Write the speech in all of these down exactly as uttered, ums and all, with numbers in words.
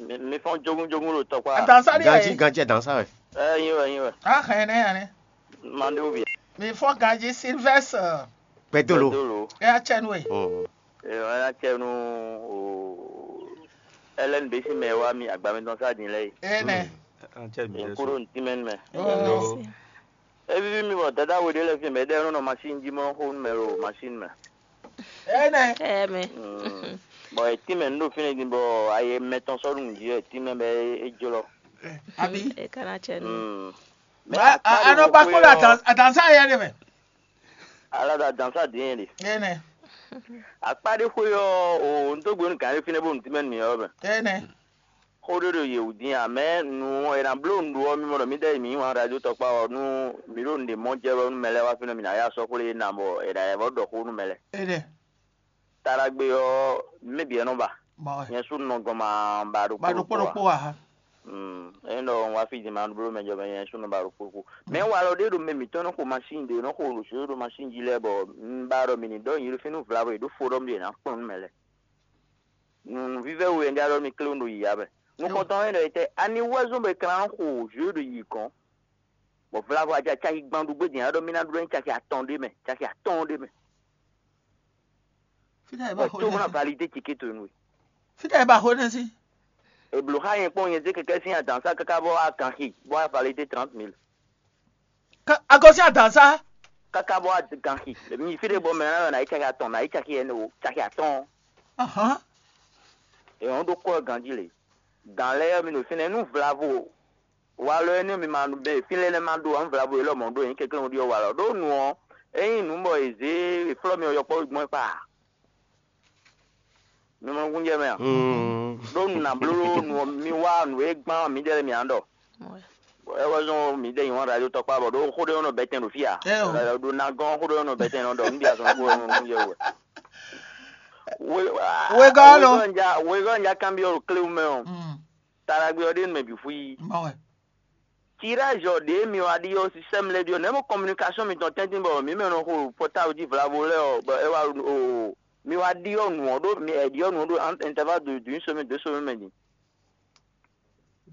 Mi fɔ́n jógúnjógún ɖo tɔkpá. Adansa ɖi Ganji, ɛ. Ganji adansa wɛ. Ɛ yin wɛ, yin wɛ. Ahɛn nɛ ane. Mandewu bia. Mi fɔ́n ganji Sylvester. Gbɛdolo. Dolo. Ɛ atsɛnu e. Mm. Ɛ ɔn ya cɛ nu o. Ɛlɛn bɛ si mɛ wa mi agbami dɔn sa din lɛ yi. Ɛ nɛ. Atsɛ mi N jɛ kúrò so. Ní tìmɛ mɛ. Oh. Evivi mi bɔ dada wo ɖe lɛ fi mɛ ɖe nɔ machine ji mɔ xo mɛ lo machine mɛ. Ɛ nɛ. Ɛ mɛ. Mm. Bɔ e tìmɛ nu ɖo fínɛ din bɔ aye mɛtɔn sɔ nu ji e tìmɛ bɛ e jlɔ. Abi. E kana cɛ nu. Mm. Mɛ Ba- a- akpa ɖe anɔ wo ba xwe kpɔɖɔ ɔ- atan- atansa yɛ ɖe mɛ. Ala da dansa din ɖe. Ɛ nɛ. Akpa ɖe xwe ɔ o n tó gbenu gǎn ɖe fínɛ bó nu tìmɛ nu yɔ mɛ. Ɛ nɛ. Xó ɖé ɖo yewu dín ǎ, mɛ nu è nǎ bló nǔɖuɖu ɔ́, mi mɔ ɖɔ mǐ ɖɛ́ yi mǐ nyi wǎn radio tɔkpá ɔ́, nú mǐ ɖo nǔɖé mɔ jɛ wɛ nú mɛ lɛ́ɛ wá fínɛ́, mǐ ná yá sɔ́ xwlé ná bɔ è nǎ yɛ vɔ́ ɖɔ xó nú mɛ lɛ́ɛ. Éɖɛ́. Taɖagbe ɔ́, mɛ bǐ wɛ nɔ ba. Bɔ wɛ. Nyɛ sú nɔ gɔn ma ba ɖokpó Ba ɖokpó ɖokpó ɖokpó ǎ. Ǎ. Mm, é nɔ wá fí din ma bló mɛ jɔ mɛ nyɛ sú nɔ ba ɖokpó ɖokpó. Mɛ walɔ ɖé ɖo mɛ mǐtɔn nɔ xo masín ɖé nɔ xo ɖo zǒ ɖo masín jí lɛ́ɛ bɔ un ba ɖɔ mǐ ní ɖɔ nyi ɖo fínú vlavo e ɖó fo ɖɔ mì ɖe ná kplɔ́n nú mɛ lɛ́ɛ. Nǔvívɛ́ we wɛ un ɖe alɔ mi klé un ɖo yǐyá mɛ. Nukɔntɔn ɔ́ ɖɔ etɛ, ani wɛ zɔ́n bɔ è ka ná xo jǒ ɖo yi gɔ̌n? Bɔ vlavo aja caki gban ɖu gbé din aɖɔ mí ná ɖu ɖɔ caki atɔn ɖé mɛ, caki atɔn ɖé mɛ. Fítɛ́ ɛ ba xo Tó bó ná énɛ́ sí. Validé ticket towe nú we. Fítɛ́ ɛ ba xo énɛ́ sí. Eblo xa nyɛ kpɔn nyɛ zé kɛkɛ sín adan sá káká bɔ wá gan xi bɔ wá validé trente mille. Ká- Agɔsí adan sá. Káká bɔ wá gan xi. Mi fí ɖé bɔ mɛ ná yɔ ná yi caki atɔn ná yi caki ɛnɛ o caki atɔn. Ahán. Èèyàn ɖó kɔ ganjí lé. Gǎn lɛ́ɛ ɔ́, mi ɖo fínɛ́ nú vlavo walɔ énɛ́ mi ma ɖu bɛ́ fínlɛ́ lɛ́ɛ ma ɖó ǎ, vlavo élɔ́ mɔ̌ ɖó nyí kɛnklɛ́n ɖiɔ walɔ ɖó nu ɔ́, ényí nǔ bɔ è zě è flɔ́ mi ɔ́ yɔkpɔ́ gbɔn é kpa. Mi mɔ nukúnjɛ mɛ a? Ɖó nu ná bló nu ɔ́, mi wá nǔ e gbán mǐdɛɛ lɛ́ɛ mi ǎ ɖɔ. É wɛ zɔn mǐdɛɛ nyi wǎn radio tɔkpá bɔ ɖó xó ɖé nɔ bɛtɛn ɖo fí a? Ɛ o. Ɖo ná gɔ́n xó ɖé nɔ bɛtɛn nɔ ɖɔ nú bia sɔn kó nukúnjɛ wɛ. Wegɔ́ lo. Wegɔ́ nja kanbyɔ́ ɖo kléwu mɛ ɔ́. Taɖagbe ɔ́ ɖe nú mɛ bǐ fú yí. Mɔ wɛ. Tirage ɔ́ ɖě mi wá ɖi ɔ́, système lɛ́ɛ ɖi ɔ́, nɛ̌ mɔ communication mitɔn tɛ́ntin bɔ mǐ mɛ nɔ xo portable jí vlavo lɛ́ɛ ɔ́, bɔ é wá o mi wá ɖi ɔ́ nǔ ɔ́ ɖó mi ɛ ɖi ɔ́ nǔ ɔ́ ɖó intervalle de d'une semaine deux semaines mɛ din.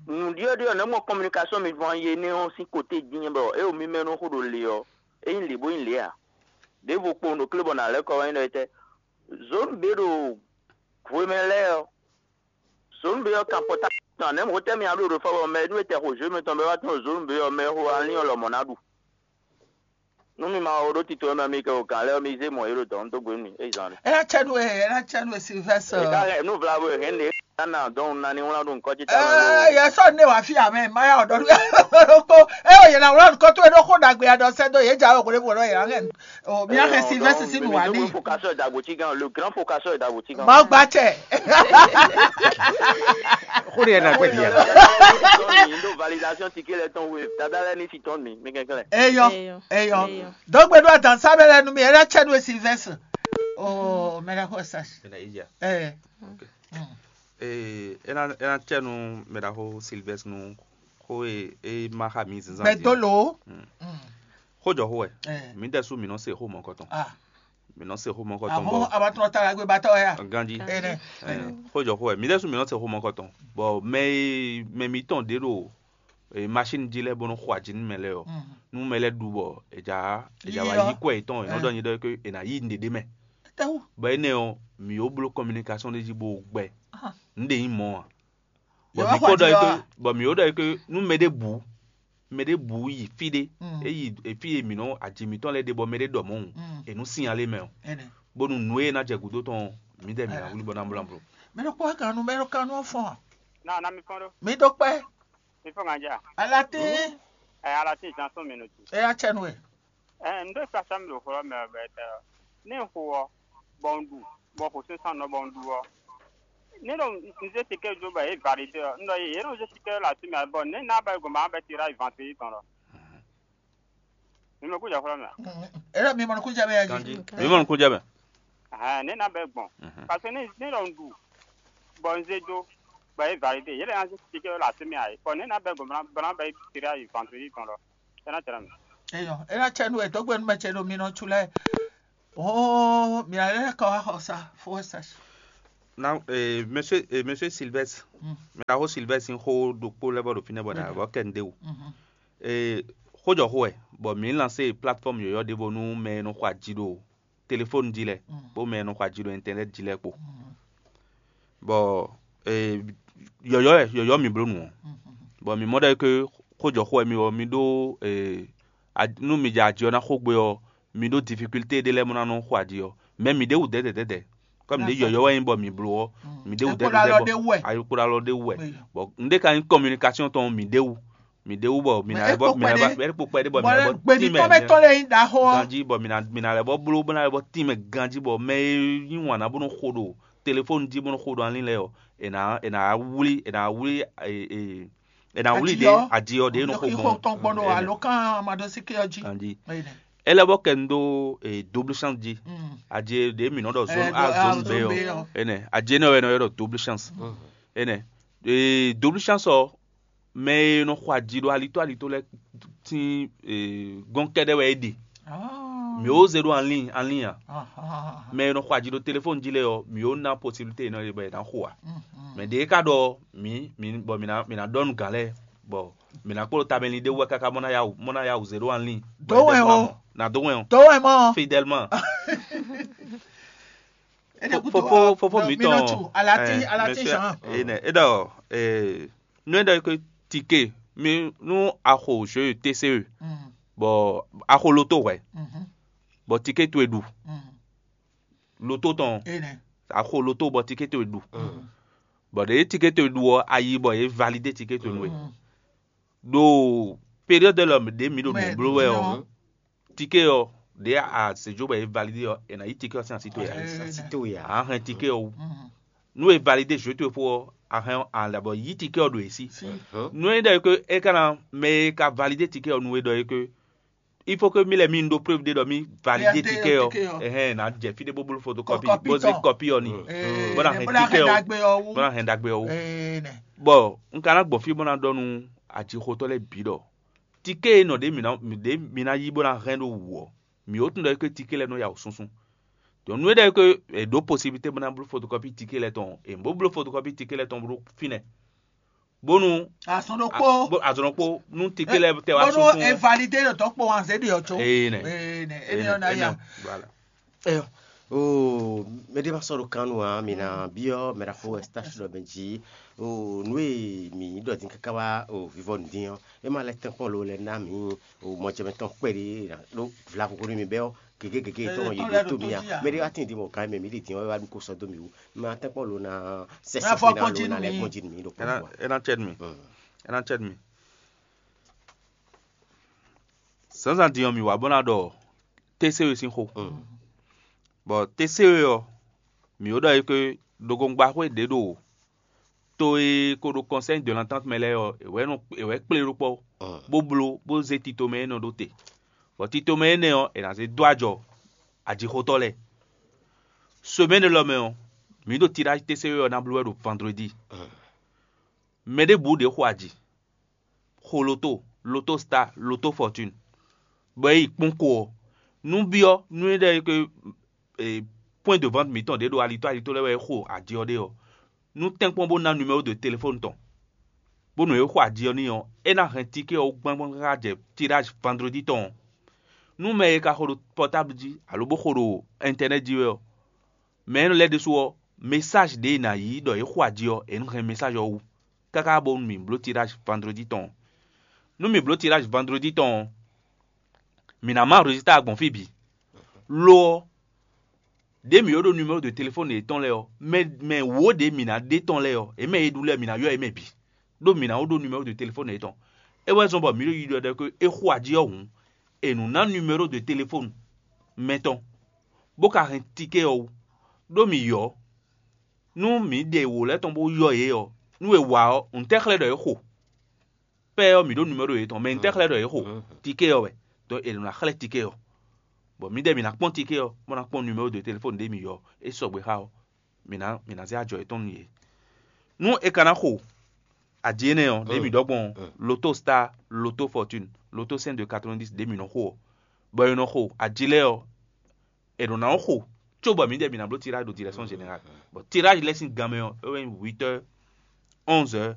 Nǔ ɖi ɔ́ ɖi ɔ́, nɛ̌ mɔ communication mi vɔn yé nɛ́ ɔ́ sín côté dín bɔ é o mi mɛ nɔ xo ɖo le ɔ́, é nyí lě bó nyí lě ǎ. Ɖěvo kpowun ɖo klé bɔ nǎ lɛ́ kɔ wá nyí ɖɔ étɛ́. Zone B ɖo hwemɛ lɛ́ɛ ɔ́, zone B ɔ́ kan pɔtá tɔn nɛ̌ mɔ̌ tɛ́ mì aɖó ɖo fɔ́bɔ mɛ nú e tɛ xo zone mɛtɔn bɛ wá tɔn zone B ɔ́ mɛ xo alín ɔ́ lɔmɔ̌ ná ɖu. Nú mi ma ɔ ɖó tito ɔ́ mɛ mi kɛ o gǎn lɛ́ɛ ɔ́, mi zé mɔ̌ é ɖo dɔ̌n dó gbe nú mi, é zán ɖe. É ná cɛ nú we, é ná cɛ nú we Sylvester. È ka hɛn nú vlavo e hɛn ɖě ná ná dɔn un ná ní wlán ɖó nukɔn ce tamɛ lo. Yɛ sɔ ne wà fi amɛ ma ya ɔdɔ ɖokpo. E o yɛ na wlán nukɔn tó e ɖó xó ɖagbe ya ɖɔ sɛ dó yɛ dza o kò ɖe bò ɖɔ yɛ hɛn o mi hɛn Sylvester si nu wà ní. Focasɔ dagbo ti gan, le grand focasɔ dagbo ti gan. Ma gba cɛ. Xó ɖe yɛ na gbɛ dia. Ndo validation ticket lɛ tɔn we dada lɛ ní fi tɔn mi mi kɛkɛ lɛ. Eyɔ, eyɔ. Dɔgbe ɖo adan sábẹ́ lɛ nu mi ɛ lɛ cɛ nu Sylvester. Oh, mɛ lɛ xɔ sa. Ena eya. Ɛ. Okay. Ee, ena ena cɛ nu mɛ ɖaxo Sylvester nu xó e e ma xa mi zinzan. Bɛ dolo. Xó jɔ xó wɛ. Mi ɖe su mi nɔ se xó mɔ kɔtɔn. Mi nɔ se xó mɔ kɔtɔn bɔ. Abatɔ ta la gbé batɔ ya. Ganji. Ene. Xó jɔ xó wɛ mi ɖe su mi nɔ se xó mɔ kɔtɔn bɔ mɛ e mɛ mi tɔn ɖe ɖo machine jí lɛ bɔ nɔ xɔ aji nú mɛ lɛ ɔ. Nú mɛ lɛ ɖu bɔ eja eja wa yi kɔ etɔn enɔ dɔ nyi ɖɔ ke ena yi nɖeɖe mɛ. Bɔ enɛ ɔ mi yo bló communication ɖe jí bo gbɛ. Nɖe yi mɔ a. Bɔ mi ko ɖɔ yi ke bɔ mi yo ɖɔ yi ke nú mɛ ɖe bu mɛ ɖe bu yi fí ɖé e yi fí e mǐ nɔ aji mǐtɔn lɛ́ɛ ɖe bɔ mɛ ɖe ɖɔ mɔ̌ hǔn è nǔ sinyalé mɛ ɔ bónú nǔ e ná jɛ gǔdo tɔn ɔ́, mǐdɛɛ mǐ ná wlí bɔ ná bló ná bló. Mɛ ɖokpó wɛ kan nu mɛ ɖo kan nu ɔ́ fɔ́n a? Náà ná mi fɔ́n ɖó. Mi ɖó kpɛ́. Mi fɔ́n gǎn jà. Alatín. Ɛ alatín zan sɔ́ mi nɔ tu. Ɛ ya cɛ nu wɛ. Ɛ n ɖó kpasa mi ɖo xɔ mɛ ɔ bɛ tɛ ɔ. Ní n xo ɔ, bɔ un ɖu, bɔ xo sín sán nɔ bɔ un ɖu ɔ. Ní ɖo un zé tikɛ jó bɔ é validé ɔ, un ɖɔ yě nɔ zé tikɛ lɔ así mɛ bɔ ní ná bɛ gbɔn bɛ tirage vantiri tɔn lɔ. Mi mɔ kújà xwlá mɛ. Era mi mɔ kújà bɛ yá jí. Mi mɔ kújà bɛ. Hɛn ne na bɛ gbɔn. Parce que ne ne lɔ un ɖu bɔ un zé dó bɔ é validé yé lɛ na zé tikɛ lɔ así mɛ ayi. Bɔ ne na bɛ gbɔn bana bɛ tiré ayi vantiri tɔn lɔ. Tɛnɛ tɛnɛ mi. Eyɔ, era cɛ nu e dɔgbe nu mɛ cɛ ɖo mi nɔ tsu lɛ. Oh, mi ale kɔ wa xɔ sa, fo sa. Na eh, monsieur eh, monsieur Sylvestre, mɛ ɖaxó Sylvestre sín xó ɖokpó lɛ́ vɔ ɖo fínɛ́ bɔ ɖa vɔ kɛ nu ɖé wú. Eh, xójɔxó wɛ, bɔ mǐ lansé plateforme yɔ̌yɔ́ ɖěvo nú mɛ e nɔ xɔ aji ɖo telefóni jí lɛ́ɛ kpó mɛ e nɔ xɔ aji ɖo internet jí lɛ́ɛ kpó. Bɔ eh, yɔ̌yɔ́ wɛ, yɔ̌yɔ́ mǐ bló nǔ ɔ́. Bɔ mǐ mɔ ɖɔ é ké xójɔxó wɛ mi ɔ́, mi ɖó eh, a- nú mi jɛ aji ɔ́ ná xo gbe ɔ́, mi ɖó difficulté ɖé lɛ́ɛ mɔ ná nɔ xo aji ɔ́, mɛ mi ɖé wú dɛ̌dɛ̌ dɛ̌dɛ̌. Kɔmi ɖě yɔ̌yɔ́ wɛ nyí bɔ mi bló ɔ́, mi ɖé wú dɛ̌dɛ̌ dɛ̌dɛ̌ bɔ ayikplalo ɖé wú wɛ. Bɔ un ɖe ka nyí communication tɔn mi ɖé wú, mi ɖé wú bɔ mi ná lɛ́ bɔ mi ná lɛ́ bɔ kpɛɖé bɔ mi ná lɛ́ bɔ tínmɛ gbědítɔ́ mɛ tɔn lɛ nyí ɖaxó ɔ́. Ganjí bɔ mi ná mi ná lɛ́ bɔ bló bó ná lɛ́ bɔ tínmɛ ganjí bɔ mɛ e yí wǎn ná bó nɔ xo ɖo telefóni jí bó nɔ xo ɖo alín lɛ́ɛ ɔ́, è nǎ è nǎ wlí è nǎ wlí e- e- è nǎ wlí Aji ɖě ɔ́, aji ɔ́ ɖě nɔ xo ixo gbɔn tɔn gbɔn ɖo alokan amadɔsíké ɔ́ jí. Ganjí. Ene. É lɛ́ bɔ kɛ nu ɖó eh, double chance jí. Mm. Aji ɖě mǐ nɔ ɖɔ zone Eh, a do- ah, zone b zone B ɔ́. Ɔ́. Ene. Aji énɛ́ wɛ è nɔ ylɔ́ ɖɔ double chance. Ene. Eh, double chance ɔ́, mɛ e nɔ xɔ aji ɖo alitó alitó lɛ́ɛ sín eh, gɔ́n kɛ́ɖɛ́ wɛ é ɖe. Ah. Mǐ ó zé ɖó anlín anlín a. Ah, ah, ah, ah. Mɛ e nɔ xɔ aji ɖo telefóni jí lɛ́ɛ ɔ́, mǐ ó ná posibilité e nɔ ɖe bɔ è nǎ xo ǎ. Mm, mm. Mɛ ɖě ka ɖɔ mǐ mǐ bɔ mǐ ná mǐ ná ɖɔ nú gǎn lɛ́ɛ bɔ mǐ ná kplɔ́ tamɛlin ɖé wú wɛ káká mɔ ná yá wǔ mɔ ná yá wǔ zé ɖó anlín. Dǒ wɛn o. Ná dó wɛn o. Dǒ wɛn mɔ. Fidèlement. Fofo fofo mi tɔn. Alati eh, alati monsieur, jean. Eh, ne, e ɖɔ eh, nú e ɖɔ ke tike mi nú axo jeu T C E bɔ axo loto hwɛ bɔ tike towe ɖu loto tɔn axo loto bɔ tike towe ɖu bɔ ɖe ye tike towe ɖu ɔ ayi bɔ ye valide tike towe nú we ɖo période lɔ ɖe mi ɖo nǔ bló wɛ ɔ tike ɔ ɖe azɛjo bɔ ye valide ɔ e na yi tike ɔ sín asi towe a Asi to ya. A hɛn tike ɔ wú nú e valide jeu towe fó ɔ a hɛn a lɛ bɔ yi tike ɔ ɖo e sí nú e ɖɔ ke e ka na mɛ e ka valide tike ɔ nú e ɖɔ e ke il faut que mi lɛ mi ɖó preuve ɖé ɖɔ mi valide Valide tike ɔ tike ɔ. Ɛhɛn na jɛ fi ɖé bó bló photocopie Photocopie bó zé tɔn. Copie ɔ ni Ee, bó na ne hɛn bó na tike hɛn ɔ ɖagbe ɔ wú. Bó na hɛn ɖagbe ɔ wú Ee, nɛ. Bɔn n ka ná gbɔn fí bó ná ɖɔ nú ajixotɔ́ lɛ́ɛ bǐ ɖɔ tike e nɔ ɖě mi ná ɖě mi ná yí bó ná hɛn ɖó wǔ ɔ́, mǐ ó tunwun ɖɔ é ké tike lɛ́ɛ nɔ ya wǔ súnsún. Dɔn nú é ɖɔ é ké è ɖǒ posibilité bó ná bló photocopie tike lɛ́ɛ tɔn è bó bló photocopie tike lɛ́ɛ tɔn bló fínɛ́ bónú Azɔn a- ɖokpó. bó- azɔn ɖokpó nú tike lɛ́ɛ tɛ wá Bónú súnsún. Evalide ɖo tɔkpɔ wan zé ɖi ɔtso. Ee, nɛ. Ee, nɛ. Ene ɔ́ na ya. Voilà. Ɛyɔ, o mɛɖé ma sɔ́ ɖo kan nu ǎ, mi ná byɔ́ mɛ ɖaxó Eustache ɖɔ mɛ jí. O nǔ e mǐ ɖɔ din káká wá o vivɔ nǔdín ɔ́, é ma lɛ́ tɛ́nkpɔ́n lo lɛ́ ná mǐ o mɔjɛmɛ tɔn kpɛɖé ɖó vlavo hwenu mi bɛ́ ɔ́ gěgé gěgé tɔn yi ɖo tó mì a. Mɛɖé wá tín din bɔ gǎn mɛ mǐ ɖi din ɔ́ é wá ɖu ko sɔ́ dó mì wú. Ma tɛ́nkpɔ́n lo ná sɛsɛ Ná fɔ fín ná kpɔ́n lo jí ná nú lɛ́ mi. Kpɔ́n jí nú mǐ ɖo É ná- kpɔ́n. É ná cɛ́ nú mi. Mm. É ná cɛ́ nú mi. Zǎnzǎn din ɔ́, mǐ wá bó ná ɖɔ T C E sín xó. Mm. Bɔ T C E ɔ́, mǐ ó ɖɔ é ké ɖokɔngba xwé ɖě ɖo to e ko ɖo Conseil de l'Entente mɛ lɛ́ɛ ɔ́, è wɛ nɔ è wɛ kplé ɖó kpɔ́, Mm. bó bló, bó zé titomɛ énɛ́ ɖó te. Bɔ titomɛ énɛ́ ɔ́, è nǎ zé dó ajɔ ajixotɔ́ lɛ́ɛ. Semaine lɔ mɛ ɔ́, mǐ ɖo tirage T C E ɔ́ ná bló wɛ ɖo vendredi. Mm. Mɛ ɖěbǔ ɖě xo aji, xo loto, loto star, loto fortune, bɔ é yi kpɔ́n ko ɔ́, nú byɔ́ nú é ɖɔ é ké e, point de vente mǐtɔn ɖě ɖo alitó alitó lɛ́ɛ wɛ é xo aji ɔ́ ɖe ɔ́, nú tɛ́nkpɔ́n bó ná numéro de téléphone tɔn, bónú é xo aji ɔ́ n'i ɔ́, é ná hɛn ticket ɔ́ wú gbángbán káká jɛ tirage vendredi tɔn ɔ́. Nú mɛ e ka xo ɖo portable jí alo bó xo ɖo internet jí wɛ ɔ́, mɛ énɛ́ lɛ́ɛ ɖésú ɔ́, message ɖě è nǎ yí ɖɔ é xo aji ɔ́, è nǐ hɛn message ɔ́ wú káká bónú mǐ bló tirage vendredi tɔn ɔ́. Nú mǐ bló tirage vendredi tɔn ɔ́, mǐ ná má résultat gbɔn fí bǐ. Lo ɔ́, ɖě mǐ ó ɖó numéro de téléphone yětɔn lɛ́ɛ ɔ́, mɛ mɛ wǒ ɖě mǐ ná ɖe tɔn lɛ́ɛ ɔ́, è mɛ e ɖu lɛ́ɛ mǐ ná ylɔ́ yě mɛ bǐ, ɖó mǐ ná ó ɖó numéro de téléphone yětɔn. É wɛ zɔ́n bɔ mǐ ɖo yiyi ɖɔ ɖɔ é xo ají ɔ́ hǔn, è nǔ ná numéro de téléphone mɛ tɔn, bó ka hɛn ticket ɔ́ wú, ɖó mǐ ylɔ́. Nú mǐ ɖe wǒ lɛ́ɛ tɔn bó ylɔ́ yě ɔ́, nú è wa ɔ́, ntɛ́ xlɛ́ ɖɔ é xo? Pɛ́ ɔ́, mǐ ɖó numéro yětɔn, mɛ ntɛ́ xlɛ́ ɖɔ é xo? Ticket ɔ́ wɛ. Donc è nɔ ná xlɛ́ ticket ɔ́, bɔ mǐdɛɛ mǐ ná kpɔ́n ticket ɔ́, bó ná kpɔ́n numéro de téléphone ɖě mǐ ylɔ́, é sɔgbe xá ɔ́, mǐ ná mǐ ná zé ajɔ yětɔn nú yě. Nú è ka ná xo aji énɛ́ ɔ́, ɖě mǐ ɖɔ gbɔn ɔ́, loto star, loto fortune, loto cent de quatre-vingt-dix ɖě mǐ nɔ xo ɔ́, bɔ è nɔ xo aji lɛ́ɛ ɔ́, è nɔ ná xo cóbɔ mǐdɛɛ bǐ ná bló tirage ɖo direction générale. Bon, tirage lɛ́ɛ sín gan mɛ ɔ́, é wɛ nyí huit heures, onze heures,